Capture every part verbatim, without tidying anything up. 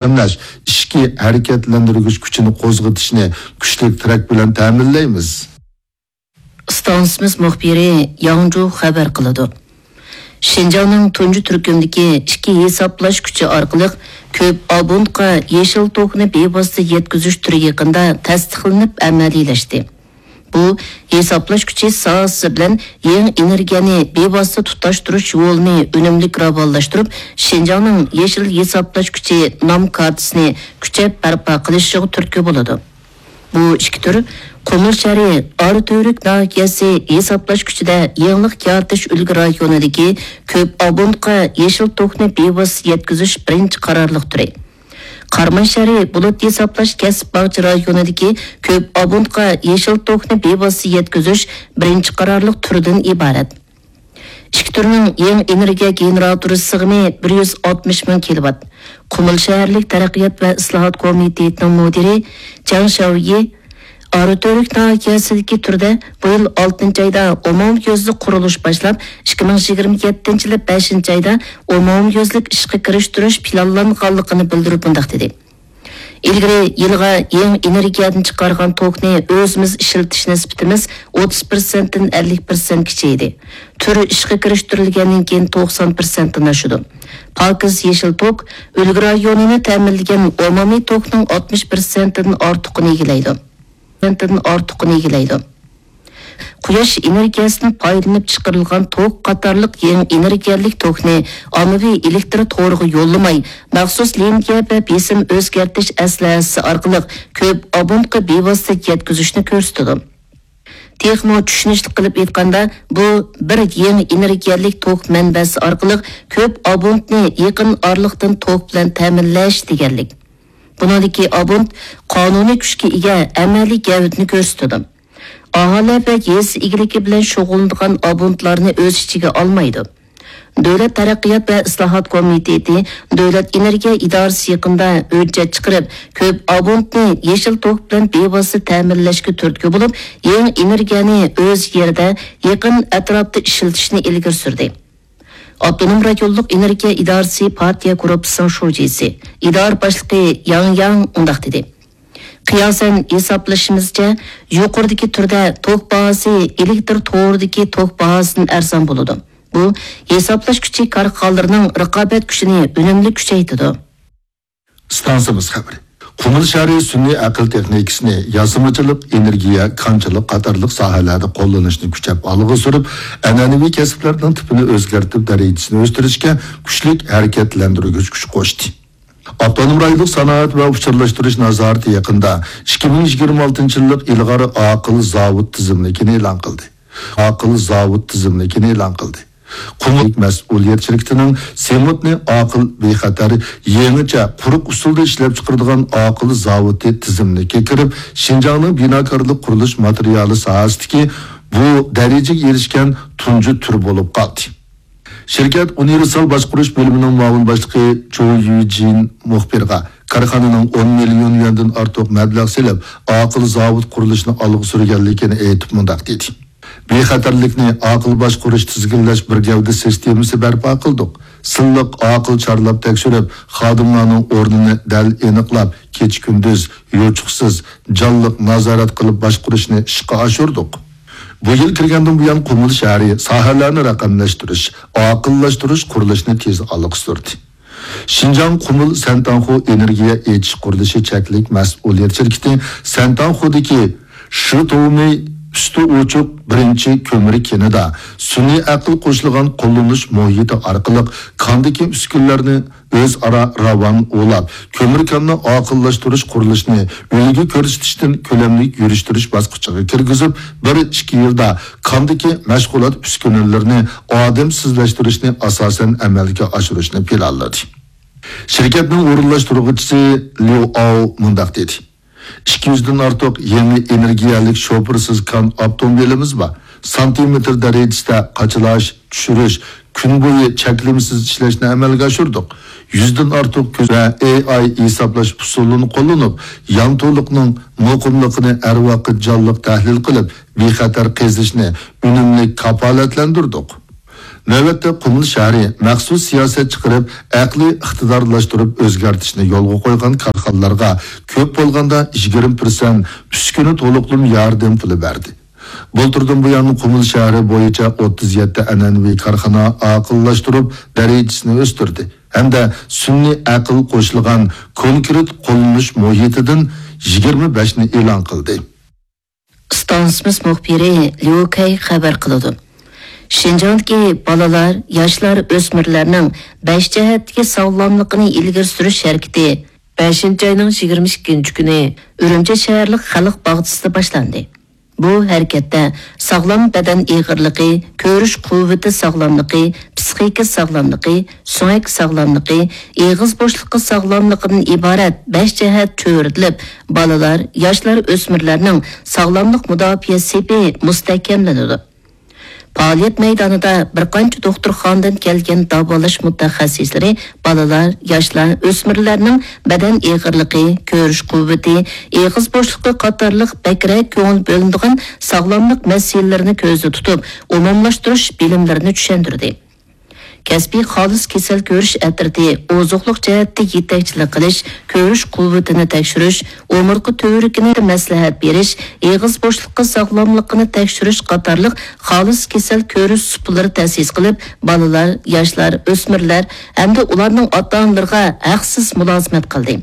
تەمىنلەش، ئىچكى ھەرىكەتلەندۈرگۈچ كۈچىنى قوزغىتىشنى كۈچلۈك تىرەك بىلەن تەمىنلەيمىز. ئىستانسىمىز مۇخبىرى ياڭجۇ خەۋەر قىلىدۇ. شىنجاڭنىڭ تۇنجى تۈركۈمدىكى ئىككى ھېسابلاش كۈچى ئارقىلىق كۆپ ئابونتقا يېشىل توكنى بىۋاسىتە يەتكۈزۈش تۈرى يېقىندا تەستىقلىنىپ ئەمەلىيلەشتى. بۇ ھېسابلاش كۈچى ساھەسى بىلەن يېڭى ئېنېرگىيەنى بىۋاسىتە تۇتاشتۇرۇش يولىنى ئۈنۈملۈك راۋانلاشتۇرۇپ، شىنجاڭنىڭ يېشىل ھېسابلاش كۈچى نام كارتىسىنى كۈچەپ بەرپا قىلىشىغا تۈرتكە بولىدۇ. بۇ ئىككى تۈر قۇمۇل شەھىرى ئاراتۈرۈك ناھىيەسى ھېسابلاش كۈچىدە يېڭىلىق يارىتىش ئۈلگە رايونىدىكى كۆپ ئابونتقا يېشىل توكنى بىۋاسىتە يەتكۈزۈش بىرىنچى قارارلىق تۈرى. قاراماي شەھىرى بۇلۇت ھېسابلاش كەسىپ باغچە رايونىدىكى كۆپ ئابونتقا يېشىل توكنى بىۋاسىتە يەتكۈزۈش بىرىنچى قارارلىق تۈرىدىن ئىبارەت. ئىككى تۈرنىڭ يېڭى ئېنېرگىيە گېنېراتورى سىغىمى بىر يۈز ئاتمىش مىڭ كىلوۋات. قۇمۇل شەھەرلىك تەرەققىيات ۋە ئىسلاھات كومىتېتىنىڭ مۇدىرى جاڭ شياۋيى ئاراتۈرۈك ناھىيەسىدىكى تۈردە بۇ يىل ئالتىنچى ئايدا ئومۇميۈزلۈك قۇرۇلۇش باشلاپ، ئىككى مىڭ يىگىرمە يەتتىنچى يىلى بەشىنچى ئايدا ئومۇميۈزلۈك ئىشقا كىرىشتۈرۈش پىلانلانغانلىقىنى بىلدۈرۈپ مۇنداق دېدى: ئىلگىرى يىلىغا يېڭى ئېنېرگىيەدىن چىقارغان توكنى ئۆزىمىز ئىشلىتىش نىسبىتىمىز ئوتتۇز پىرسەنتتىن ئەللىك پىرسەنتكىچە ئىدى. تۈر ئىشقا كىرىشتۈرۈلگەندىن كېيىن توقسان پىرسەنتتىن ئاشىدۇ. پاكىز يېشىل توك ئۈلگە رايونىنى تەمىنلىگەن ئومۇمىي توكنىڭ ئاتمىش پىرسەنتتىن ئارتۇقىنى ئىگىلەيدۇ. پىرسەنتتىن ئارتۇقىنى ئىگىلەيدۇ. قۇياش ئېنېرگىيەسىدىن پايدىلىنىپ چىقىرىلغان توك قاتارلىق يېڭى ئېنېرگىيەلىك توكنى ئاممىۋى ئېلېكتر تورىغا يوللىماي، مەخسۇس لىنىيە ۋە بېسىم ئۆزگەرتىش ئەسلىھەسى ئارقىلىق كۆپ ئابونتقا بىۋاسىتە يەتكۈزۈشنى كۆرسىتىدۇ. تېخىمۇ چۈشىنىشلىك قىلىپ ئېيتقاندا، بۇ بىر يېڭى ئېنېرگىيەلىك توك مەنبەسى ئارقىلىق كۆپ ئابونتنى يېقىن ئارىلىقتىن توك بىلەن تەمىنلەش دېگەنلىك. بۇنىڭدىكى ئابونت قانۇنىي كۈچكە ئىگە ئەمەلىي گەۋدىنى كۆرسىتىدۇ. ئاھالە ۋە يېزا ئىگىلىكى بىلەن شۇغۇللىنىدىغان ئابونتلارنى ئۆز ئىچىگە ئالمايدۇ. دۆلەت تەرەققىيات ۋە ئىسلاھات كومىتېتى، دۆلەت ئېنېرگىيە ئىدارىسى يېقىندا ھۆججەت چىقىرىپ، كۆپ ئابونتنى يېشىل توك بىلەن بىۋاسىتە تەمىنلەشكە تۈرتكە بولۇپ، يېڭى ئېنېرگىيەنى ئۆز يېرىدە، يېقىن ئەتراپتا ئىشلىتىشنى ئىلگىرى سۈردى. ئاپتونوم رايونلۇق ئېنېرگىيە ئىدارىسى پارتىيە گۇرۇپپىسىنىڭ شۇجىسى، ئىدارە باشلىقى ياڭ ياڭ مۇنداق دېدى: قىياسەن ھېسابلىشىمىزچە، يۇقىرىدىكى تۈردە توك باھاسى ئېلېكتر تورىدىكى توك باھاسىدىن ئەرزان بولىدۇ. بۇ ھېسابلاش كۈچى كارخانىلىرىنىڭ رىقابەت كۈچىنى ئۈنۈملۈك كۈچەيتىدۇ. ئىستانسىمىز خەۋىرى. قۇمۇل شەھىرى سۈنئىي ئەقىل تېخنىكىسىنى ياسىمىچىلىق، ئېنېرگىيە، كانچىلىق قاتارلىق ساھەلەردە قوللىنىشنى كۈچەپ ئالغا سۈرۈپ، ئەنئەنىۋى كەسىپلەرنىڭ تىپىنى ئۆزگەرتىپ، دەرىجىسىنى ئۆستۈرۈشكە كۈچلۈك ھەرىكەتلەندۈرگۈچ كۈچ قوشتى. ئاپتونوم رايونلۇق سانائەت ۋە ئۇچۇرلاشتۇرۇش نازارىتى يېقىندا ئىككى مىڭ يىگىرمە ئالتىنچى يىللىق ئىلغار ئاقىل زاۋۇت تىزىملىكىنى ئېلان قىلدى. ئاقىل زاۋۇت تىزىملىكىنى ئېلان قىلدى. قۇمۇل مەسئۇلىيەت شىركىتىنىڭ سېمونتنى ئاقىل، بىخەتەر، يېڭىچە، قۇرۇق ئۇسۇلدا ئىشلەپچىقىرىدىغان ئاقىل زاۋۇتى تىزىملىككە كىرىپ، شىنجاڭنىڭ بىناكارلىق قۇرۇلۇش ماتېرىيالى ساھەسىدىكى بۇ دەرىجىگە ئېرىشكەن تۇنجى تۈر بولۇپ قالدى. شىركەت ئۇنىۋېرسال باشقۇرۇش بۆلۈمىنىڭ مۇئاۋىن باشلىقى چۇ يۈجىن مۇخبىرغا كارخانىنىڭ ئون مىليون يۈەندىن ئارتۇق مەبلەغ سېلىپ، ئاقىل زاۋۇت قۇرۇلۇشىنى ئالغا سۈرگەنلىكىنى ئېيتىپ مۇنداق دېدى: بىخەتەرلىكنى، ئاقىل باشقۇرۇش، تىزگىنلەش بىر گەۋدە سىستېمىسى بەرپا قىلدۇق. سىنلىق ئاقىل چارلاپ تەكشۈرۈپ، خادىملارنىڭ ئورنىنى دەل ئېنىقلاپ، كېچە-كۈندۈز، يوچۇقسىز، جانلىق نازارەت قىلىپ باشقۇرۇشنى ئىشقا ئاشۇردۇق. بۇ يىل كىرگەندىن بۇيان، قۇمۇل شەھىرى ساھەلەرنى رەقەملەشتۈرۈش، ئاقىللاشتۇرۇش قۇرۇلۇشىنى تېز ئالغا سۈردى. شىنجاڭ قۇمۇل سەنتاڭخۇ ئېنېرگىيە ئېچىش قۇرۇلۇشى چەكلىك مەسئۇلىيەت شىركىتى سەنتاڭخۇدىكى شىتومېي ئۈستى ئوچۇق بىرىنچى كۆمۈر كېنىدا سۈنئىي ئەقىل قوشۇلغان قوللىنىش مۇھىتى ئارقىلىق كاندىكى ئۈسكۈنىلەرنى ئۆزئارا راۋان ئۇلاپ، كۆمۈر كاننى ئاقىللاشتۇرۇش قۇرۇلۇشىنى ئۈلگە كۆرسىتىشتىن كۆلەملىك يۈرۈشتۈرۈش باسقۇچىغا كىرگۈزۈپ، بىر ئىككى يىلدا كاندىكى مەشغۇلات ئۈسكۈنىلىرىنى ئادەمسىزلەشتۈرۈشنى ئاساسەن ئەمەلگە ئاشۇرۇشنى پىلانلىدى. شىركەتنىڭ ئورۇنلاشتۇرغۇچىسى ليۇ ئاۋ مۇنداق دېدى: ئىككى يۈزدىن ئارتۇق يېڭى ئېنېرگىيەلىك شوپۇرسىز كان ئاپتوموبىلىمىز بار. سانتىمېتىر دەرىجىسىدە قاچىلاش، چۈشۈرۈش، كۈن بويى چەكلىمىسىز ئىشلەشنى ئەمەلگە ئاشۇردۇق. يۈزدىن ئارتۇق كۆز ۋە ئېي ئاي ھېسابلاش ئۇسۇلىنى قوللىنىپ، يانتۇلۇقنىڭ مۇقىملىقىنى ھەر ۋاقىت جانلىق تەھلىل قىلىپ، بىخەتەر قېزىشنى ئۈنۈملۈك كاپالەتلەندۈردۇق. نۆۋەتتە قۇمۇل شەھىرى مەخسۇس سىياسەت چىقىرىپ، ئەقلىي ئىقتىدارلاشتۇرۇپ ئۆزگەرتىشنى يولغا قويغان كارخانىلارغا كۆپ بولغاندا يىگىرمە پىرسەنت ئۈسكۈنە تولۇقلىما ياردەم پۇلى بەردى. بۇلتۇردىن بۇيان قۇمۇل شەھىرى بويىچە ئوتتۇز يەتتە ئەنئەنىۋى كارخانا ئاقىللاشتۇرۇپ، دەرىجىسىنى ئۆستۈردى ھەمدە سۈنئىي ئەقىل قوشۇلغان كونكرېت قوللىنىش مۇھىتىدىن يىگىرمە بەشنى ئېلان قىلدى. ئىستانسىمىز مۇخبىرى ليۇ كەي خەۋەر قىلىدۇ. شىنجاڭدىكى بالىلار، ياشلار، ئۆسمۈرلەرنىڭ بەش جەھەتتىكى ساغلاملىقىنى ئىلگىرى سۈرۈش ھەرىكىتى بەشىنچى ئاينىڭ يىگىرمە ئىككىنچى كۈنى ئۈرۈمچى شەھەرلىك خەلق باغچىسىدا باشلاندى. بۇ ھەرىكەتتە ساغلام بەدەن ئېغىرلىقى، كۆرۈش قۇۋۋىتى ساغلاملىقى، پىسخىكا ساغلاملىقى، سۆڭەك ساغلاملىقى، ئېغىز بوشلۇقى ساغلاملىقىدىن ئىبارەت بەش جەھەت چۆرىدىلىپ، بالىلار، ياشلار، ئۆسمۈرلەرنىڭ ساغلاملىق مۇداپىئە سېپى مۇستەھكەملىنىدۇ. پائالىيەت مەيدانىدا بىر قانچە دوختۇرخانىدىن كەلگەن داۋالاش مۇتەخەسسىسلىرى بالىلار، ياشلار، ئۆسمۈرلەرنىڭ بەدەن ئېغىرلىقى، كۆرۈش قۇۋۋىتى، ئېغىز بوشلۇقى قاتارلىق بەكرەك كۆڭۈل بۆلۈنىدىغان ساغلاملىق مەسىلىلىرىنى كۆزدە تۇتۇپ، ئومۇملاشتۇرۇش بىلىملىرىنى چۈشەندۈردى. كەسپىي خالىس كېسەل كۆرۈش ئەترىتى ئوزۇقلۇق جەھەتتە يېتەكچىلىك قىلىش، كۆرۈش قۇۋۋىتىنى تەكشۈرۈش، ئومۇرتقا تۈۋرۈكىنى مەسلىھەت بېرىش، ئېغىز بوشلۇقى ساغلاملىقىنى تەكشۈرۈش قاتارلىق خالىس كېسەل كۆرۈش سۇپىلىرى تەسىس قىلىپ، بالىلار، ياشلار، ئۆسمۈرلەر ھەمدە ئۇلارنىڭ ئاتا-ئانىلىرىغا ھەقسىز مۇلازىمەت قىلدى.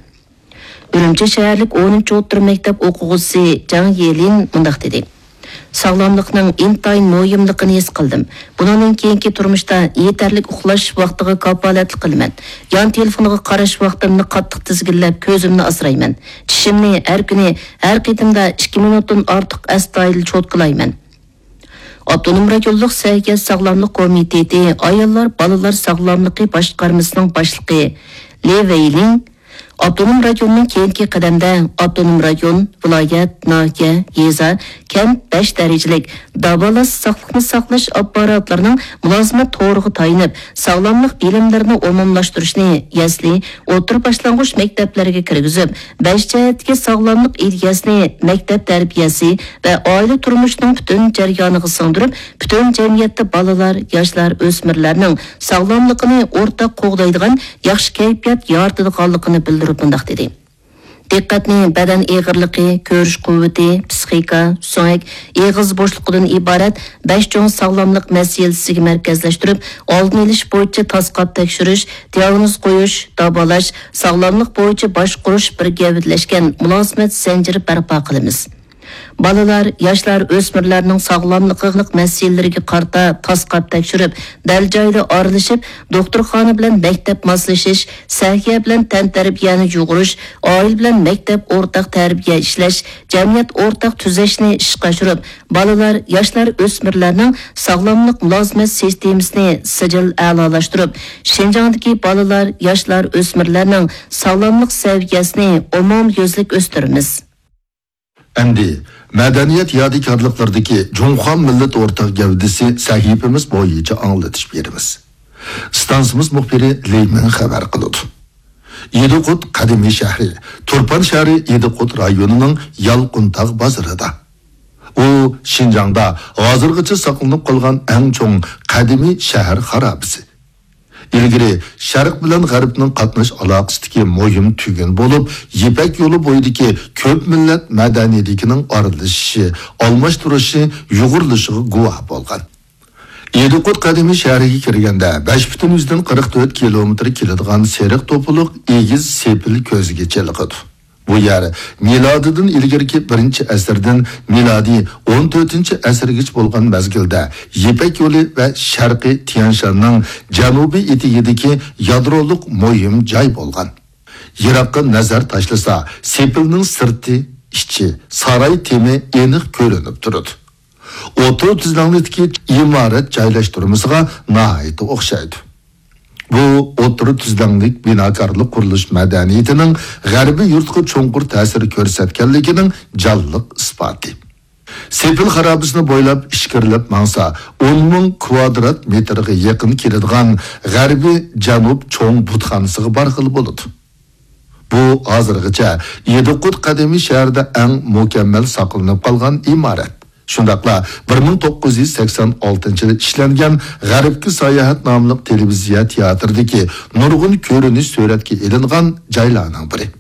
ئۈرۈمچى شەھەرلىك ئونىنچى ئوتتۇرا مەكتەپ ئوقۇغۇچىسى جاڭ يېلىن مۇنداق دېدى: ساغلاملىقنىڭ ئىنتايىن مۇھىملىقىنى ھېس قىلدىم. بۇنىڭدىن كېيىنكى تۇرمۇشتا يېتەرلىك ئۇخلاش ۋاقتىغا كاپالەتلىك قىلىمەن. يان تېلېفونغا قاراش ۋاقتىمنى قاتتىق تىزگىنلەپ، كۆزۈمنى ئاسرايمەن. چىشىمنى ھەر كۈنى، ھەر قېتىمدا ئىككى مىنۇتتىن ئارتۇق ئەستايىدىل چوتكىلايمەن. ئاپتونوم رايونلۇق سەھىيە ساغلاملىق كومىتېتى ئاياللار، بالىلار ساغلاملىقى باشقارمىسىنىڭ باشلىقى لى ۋېيلىڭ ئاپتونوم رايوننىڭ كېيىنكى قەدەمدە ئاپتونوم رايون، ۋىلايەت، ناھىيە، يېزا، كەنت بەش دەرىجىلىك داۋالاش، ساقلىقنى ساقلاش ئاپپاراتلىرىنىڭ مۇلازىمەت تورىغا تايىنىپ، ساغلاملىق بىلىملىرىنى ئومۇملاشتۇرۇشنى يەسلى، ئوتتۇرا باشلانغۇچ مەكتەپلەرگە كىرگۈزۈپ، بەش جەھەتتىكى ساغلاملىق ئىدىيەسىنى مەكتەپ تەربىيەسى ۋە ئائىلە تۇرمۇشىنىڭ پۈتۈن جەريانىغا سىڭدۈرۈپ، پۈتۈن جەمئىيەتتە بالىلار، ياشلار، ئۆسمۈرلەرنىڭ ساغلاملىقىنى ئورتاق قوغدايدىغان ياخشى كەيپىيات يارىتىدىغانلىقىنى بىلدۈرۈپ مۇنداق دېدى: دىققەتنى بەدەن ئېغىرلىقى، كۆرۈش قۇۋۋىتى، پىسخىكا، سۆڭەك، ئېغىز بوشلۇقىدىن ئىبارەت بەش چوڭ ساغلاملىق مەسىلىسىگە مەركەزلەشتۈرۈپ، ئالدىنى ئېلىش بويىچە تاسقاپ تەكشۈرۈش، دىئاگنوز قويۇش، داۋالاش، ساغلاملىق بويىچە باشقۇرۇش بىر گەۋدىلەشكەن مۇلازىمەت زەنجىرى بەرپا قىلىمىز. بالىلار، ياشلار، ئۆسمۈرلەرنىڭ ساغلاملىقلىق مەسىلىلىرىگە قارىتا تاسقاپ تەكشۈرۈپ، دەل جايىدا ئارىلىشىپ، دوختۇرخانا بىلەن مەكتەپ ماسلىشىش، سەھىيە بىلەن تەنتەربىيەنى يۇغۇرۇش، ئائىلە بىلەن مەكتەپ ئورتاق تەربىيە ئىشلەش، جەمئىيەت ئورتاق تۈزەشنى ئىشقا ئاشۇرۇپ، بالىلار، ياشلار، ئۆسمۈرلەرنىڭ ساغلاملىق مۇلازىمەت سىستېمىسىنى سىجىل ئەلالاشتۇرۇپ، شىنجاڭدىكى بالىلار، ياشلار، ئۆسمۈرلەرنىڭ ساغلاملىق سەۋىيەسىنى ئومۇميۈزلۈك ئۆستۈرىمىز. ئەمدى مەدەنىيەت يادىكارلىقلىرىدىكى جۇڭخۇا مىللەت ئورتاق گەۋدىسى سەھىپىمىز بويىچە ئاڭلىتىش بېرىمىز. ئىستانسىمىز مۇخبىرى لېي مىڭ خەۋەر قىلىدۇ. ئىدىقۇت قەدىمىي شەھىرى، تۇرپان شەھىرى ئىدىقۇت رايونىنىڭ يالقۇنتاغ بازىرىدا. ئۇ شىنجاڭدا ھازىرغىچە ساقلىنىپ قالغان ئەڭ چوڭ قەدىمىي شەھەر خارابىسى. ئىلگىرى شەرق بىلەن غەربنىڭ قاتناش ئالاقىسىدىكى مۇھىم تۈگۈن بولۇپ، يىپەك يولى بويىدىكى كۆپ مىللەت مەدەنىيىتىنىڭ ئارىلىشىشى، ئالماشتۇرۇشى، يۇغۇرۇلۇشىغا گۇۋاھ بولغان. ئىدىقۇت قەدىمىي شەھىرىگە كىرگەندە، بەش پۈتۈن يۈزدىن قىرىق تۆت كىلومېتىر كېلىدىغان سېرىق توپىلىق ئېگىز سېپىل كۆزگە چېلىقىدۇ. بۇ يەر مىلادىدىن ئىلگىرىكى بىرىنچى ئەسىردىن مىلادىي ئون تۆتىنچى ئەسىرگىچە بولغان مەزگىلدە يىپەك يولى ۋە شەرقىي تيەنشاننىڭ جەنۇبىي ئېتىكىدىكى يادرولۇق مۇھىم جاي بولغان. يىراققا نەزەر تاشلىسا، سېپىلنىڭ سىرتى، ئىچى، ساراي تېمى ئېنىق كۆرۈنۈپ تۇرىدۇ. ئوتتۇرا تۈزلەڭلىكتىكى ئىمارەت جايلاشتۇرمىسىغا ناھايىتى ئوخشايدۇ. بۇ ئوتتۇرا تۈزلەڭلىك بىناكارلىق قۇرۇلۇش مەدەنىيىتىنىڭ غەربىي يۇرتقا چوڭقۇر تەسىر كۆرسەتكەنلىكىنىڭ جانلىق ئىسپاتى. سېپىل خارابىسىنى بويلاپ ئىچكىرىلەپ ماڭسا، ئون مىڭ كۋادرات مېتىرغا يېقىن كېلىدىغان غەربىي جەنۇب چوڭ بۇتخانىسىغا بارغىلى بولىدۇ. بۇ ھازىرغىچە ئىدىقۇت قەدىمىي شەھىرىدە ئەڭ مۇكەممەل ساقلىنىپ قالغان ئىمارەت. شۇنداقلا بىر مىڭ توققۇز يۈز سەكسەن ئالتىنچى يىلى ئىشلەنگەن غەربكە ساياھەت ناملىق تېلېۋىزىيە تىياتىرىدىكى نۇرغۇن كۆرۈنۈش سۈرەتكە ئېلىنغان جايلارنىڭ بىرى.